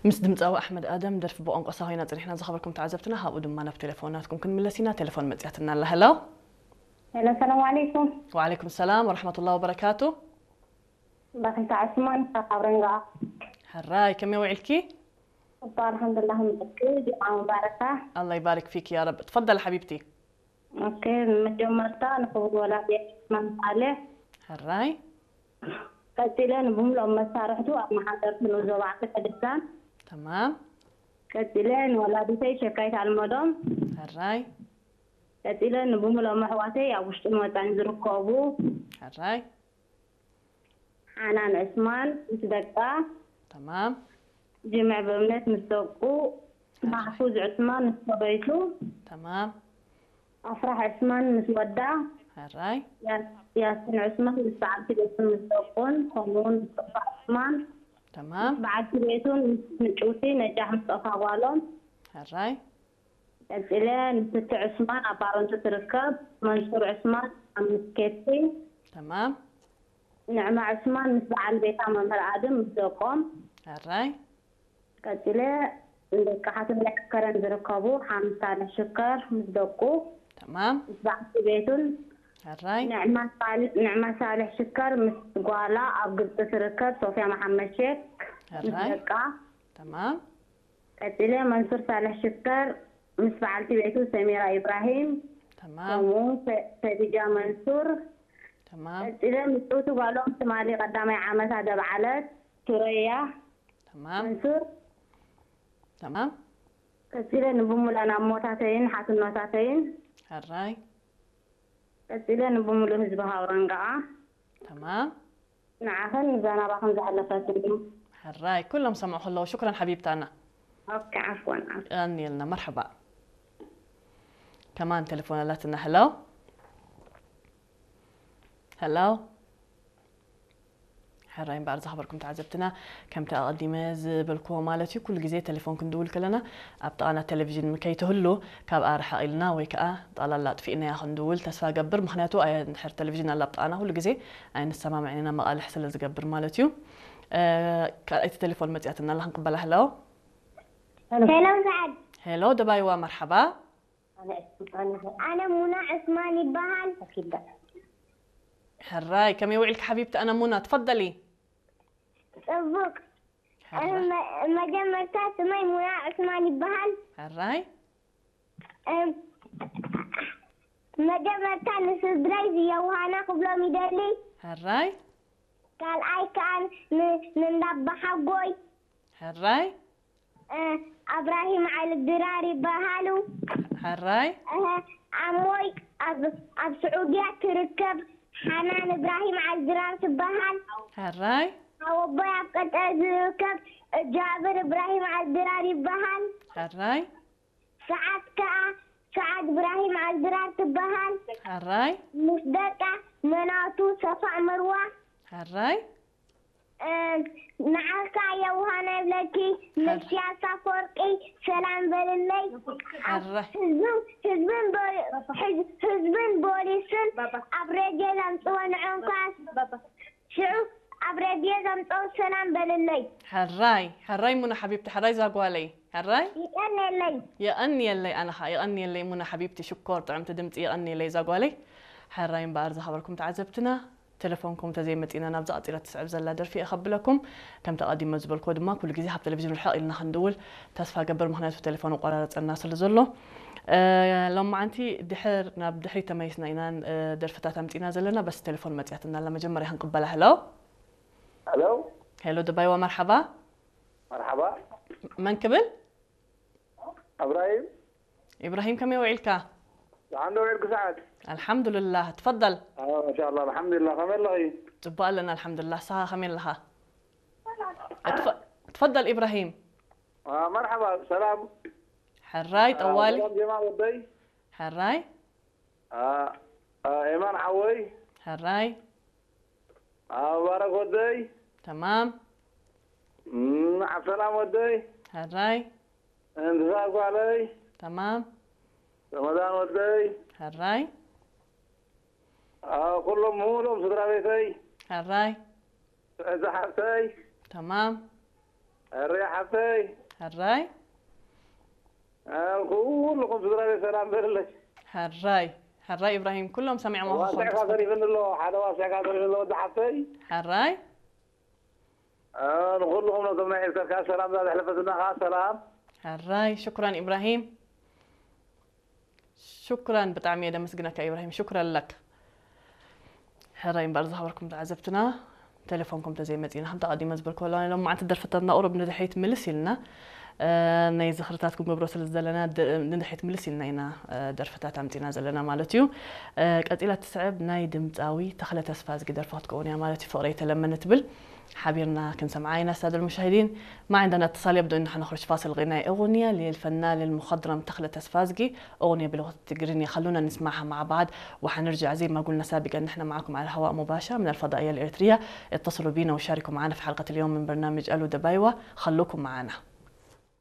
ምስ ድምፃዊ ኣሕመድ ኣደም ደርፊ ብቋንቋ ሳሆይና ፅኒሕና ዝኸበርኩም ተዓዘብትና፣ ካብኡ ድማ ናብ ቴሌፎናትኩም ክንምለስ ኢና። ቴሌፎን መፅያትና ኣላ። ሄሎ። ሄሎ፣ ሰላም ዓለይኩም። ወዓለይኩም ሰላም ወረሕመቱላሂ ወበረካቱ። በኺታ ዕስማን ካብ ረንጋ። ሕራይ፣ ከመይ ውዒልኪ? እባ ኣልሓምዱላህ፣ ምጥቂ ጅምዓ ሙባረካ። ኣላ ይባርክ ፊክ ያ ረብ። ትፈደል ሓቢብቲ። ኦኬ፣ መጀመርታ ንክቡር ወላዲ ዕስማን ሳልሕ፣ ሕራይ። ቀፂለ ንብምሎም መሳርሕቱ ኣብ መሓደርቲ ንኡስ ዞባ ዓዲ ቅድሳን። ተማም። ቀፂለ ንወላዲተይ ሸካይት ኣልመዶም። ሕራይ። ቀፂለ ንብምሎም ኣሕዋተይ ኣብ ውሽጥን ወፃን ዝርከቡ። ሕራይ። ሓናን ዕስማን ምስ ደቃ። ተማም። ጅምዕ ብእምነት ምስ ደቁ። ማሕፉዝ ዕስማን ምስ ሰበይቱ። ተማም። ኣፍራሕ ዕስማን ምስ ወዳ። ሕራይ። ያስ- ያስን ዕስማን ምስ በዓልቲ ቤቱን ምስ ደቁን፣ ከምኡውን ምስ ጦፋ ዕስማን ተማም። በዓልቲ ቤቱን ምስ ምጭውቲ ነጃሕ ምስ ጦፋ ጓሎም። ሕራይ። ቀፂለ ንስቲ ዕስማን ኣብ ባረንቱ ትርከብ፣ መንሱር ዕስማን ኣብ ምስኬቲ፣ ተማም። ንዕማ ዕስማን ምስ በዓል ቤታ መምህር ኣድም ምስ ደቆም። ሕራይ። ቀፂለ ንደቂ ሓትም ናይ ከረን ዝርከቡ ሓምሳ ሳልሕ ሽከር ምስ ደቁ፣ ተማም። ምስ በዓልቲ ቤቱን። ሕራይ። ንዕማ ሳል- ንዕማ ሳልሕ ሽከር ምስ ጓላ ኣብ ግብፂ ትርከብ ሶፊያ መሓመድ ሼክ ምስ ሕራይ። ደቃ። ተማም። ቀፂለ መንሱር ሳልሕ ሽከር ምስ በዓልቲ ቤቱ ሰሚራ ኢብራሂም፣ ተማም። ከምኡ ከ- ከዲጃ መንሱር። ተማም። ቀፂለ ምፅውቲ ጓሎም ትማሊ ቀዳማይ ዓመታ ደብዓለት ሱረያ ተማም። መንሱር። ተማም። ቀፂለ ንብሙላን ኣሞታተይን ሓትኖታተይን። ሕራይ። ቀፂለ ንብሙሉእ ህዝቢ ሃውረንጋኣ። ተማም። ንዓኽን ንዛናባኽን ዘሕለፈትኒ። ሕራይ። ኩሎም ሰምዑ ከለዉ ሽኩረን ሓቢብታና። ኦኬ፣ ዓፍወን፣ ዓፍወን። ቀንየልና። መርሐባ። ከማን ቴሌፎን ኣላትና። ሄሎ። ሄሎ። ሕራይ እምበኣር ዝኸበርኩም ተዓዘብትና፣ ከምቲ ኣቐዲመ ዝበልክዎ ማለት እዩ፣ ኩሉ ግዜ ቴሌፎን ክንድውል ከለና ኣብ ጥቓና ቴሌቪዥን ከይትህሉ፣ ካብኣ ርሕቕ ኢልና ወይ ከዓ ጠቕላላ ኣጥፊእናያ ክንድውል ተስፋ ገብር። ምኽንያቱ ኣየ-፣ እንድሕር ቴሌቪዥን ኣላ ኣብ ጥቓና፣ ኩሉ ግዜ ኣይንሰማምዕን ኢና፣ መቓልሕ ስለ ዝገብር ማለት እዩ። እ፣ ካልኣይቲ ቴሌፎን መፂኣትና ኣላ፣ ክንቅበላ። ሄሎ። ሄሎ፣ ሰዓድ። ሄሎ ደባይዋ፣ መርሓባ። ኣነ ሙና ዕስማን ይበሃል። ሕራይ፣ ከመይ ውዒልኪ ሓቢብቲ? ኣነ ሙና፣ ትፈደሊ። ጽቡቅ። ሕራይ። መ- መጀመርታ ስመይ ሙና ዕስማን ይበሃል። ሕራይ። እም፣ መጀመርታ ንስድረይ ዝየውሃና ክብሎም ይደሊ። ሕራይ። ካልኣይ ከኣ ን- ንእንዳባሓጎይ። ሕራይ። እ፣ ኣብራሂም ዓሊ ድራር ይበሃሉ። ሕራይ። እህ፣ ኣሞይ ኣብ ኣብ ስዑድያ ትርከብ ሓናን እብራሂም ዓሊ ድራር ትበሃል። ሕራይ። ኣወቦይ ኣብ ቀጠር ዝርከብ ጃብር እብራሂም ዓሊ ድራር ይበሃል። ሕራይ። ሰዓት ከኣ ሰዓት እብራሂም ዓሊ ድራር ትበሃል። ሕራይ። ምስ ደቃ መናቱ ሰፋ መርዋ። ሕራይ። እ፣ ንዓኻ የውሃና ይብለኪ መሽያስ ኣፈወርቂ ሰላም በልለይ። ሕራይ። ህዝብን ህዝብን ቦ- ህዝ- ህዝብን ቦሊስን ኣብ ሬድዮ ዘምጽዎ ንዕንኳስ ሽዑ ኣብ ሬድዮ ዘምጽዎ ሰላም በልለይ። ሕራይ። ሕራይ ሙና ሓቢብቲ፣ ሕራይ ዛጓለይ። ሕራይ። ይቀነለይ። የቐንየለይ፣ ኣነ ኸዓ የቐንየለይ ሙና ሓቢብቲ፣ ሽኮር ጥዕምቲ ድምፂ፣ የቐንየለይ ዛጓለይ። ሕራይ እምበኣር ዝኸበርኩም ተዓዘብትና፣ ቴሌፎንኩም ተዘይመፂና ናብዛ ቀፂላ ትስዕብ ዘላ ደርፊ እየ ከብለኩም። ከምቲ ኣቐዲመ ዝበልክዎ ድማ ኩሉ ግዜ ካብ ቴሌቪዥን ርሕቕ ኢልና ክንድውል ተስፋ ገብር፣ ምኽንያቱ ቴሌፎን ኣቆራረፀና ስለ ዘሎ። እ፣ ሎማዓንቲ ድሕር ናብ ድሕሪት ተመሊስና ኢና፣ እ፣ ደርፍታት ኣምፂና ዘለና፣ በስ ቴሌፎን መፂኣትና ኣላ፣ መጀመርያ ክንቅበላ። ሄሎ። ሄሎ። ሄሎ ደባይዋ፣ መርሓባ። መርሓባ። መን ክብል? እብራሂም። ኢብራሂም፣ ከመይ ውዒልካ? ደሓን ዶ ውዒልኪ ሰዓት? ኣልሓምዱልላህ፣ ትፈደል። ኣዎ፣ ማሻኣላህ፣ ኣልሓምዱሊላህ። ከመይ ኣለኺ? ጽቡቕ ኣለና፣ ኣልሓምዱልላህ። ንስኻ ከመይ ኣለኻ? እትፈ-፣ ትፈደል ኢብራሂም። አ፣ መርሓባ፣ ሰላም። ሕራይ፣ አ፣ ጠዋሊ። ሰላም ጀማል ወደይ። ሕራይ። አ፣ አ፣ ኤማን ሓወይ። ሕራይ። አ፣ ሙባረክ ወደይ። ተማም። እም፣ ዓብሰላም ወደይ። ሕራይ። እንስሳ ጓለይ። ተማም። ረመዳን ወደይ። ሕራይ። አ፣ ኩሎም ሙሉኦም ስድራ ቤተይ። ሕራይ። እዛ ሓብተይ። ተማም። ሕራይ ሓፍተይ። ሕራይ። ኩልኹም ስድራ ቤት ሰላም በልለይ። ሕራይ። ሕራይ ኢብራሂም፣ ኩሎም ሰሚዖም ዋስዕካ ተሪፍኒ ኣሎ። ሓደ ዋስዕካ ተሪፍኒ ኣሎ ወዲ ሓፍተይ። ሕራይ። ንኹልኹም ነቶም ናይ ኤርትራ ሰላም፣ እዛ ዘሕለፈትና ከዓ ሰላም። ሕራይ። ሽኩራን ኢብራሂም። ሽኩራን፣ ብጣዕሚ እየ ደመስግነካ ኢብራሂም። ሽኩረን ለክ። ሕራይ እምበር ዝኸበርኩም ተዓዘብትና፣ ቴሌፎንኩም ተዘይመፂና፣ ከምቲ ኣቐዲመ ዝበልኩ፣ ሎም መዓልቲ ደርፍታትና ቁሩብ ንድሕሪት ምልስ ኢልና፣ ናይ ዝኽርታት ክንገብሮ ስለ ዘለና፣ ንድሕሪት ምልስ ኢልና ኢና ደርፍታት ኣምፂና ዘለና ማለት እዩ። ቀፂላ ትስዕብ ናይ ድምፃዊ ተኽለ ተስፋዝጊ ደርፊ ክትከውን እያ ማለት እዩ። ፍቕረይ ተለመነ ትብል ሓቢርና ክንሰምዓ ኢና። ሳደል ሙሻሂዲን፣ ما عندنا اتصال، يبدو إن احنا نخرج فاصل غنائي. أغنية للفنان المخضرم تخلة تسفازقي، أغنية بلغة التقرينية. خلونا نسمعها مع بعض، وحنرجع زي ما قلنا سابقا، نحن معكم على الهواء مباشرة من الفضائية الإريترية. اتصلوا بينا وشاركوا معنا في حلقة اليوم من برنامج ألو دبايوة. خلوكم معنا.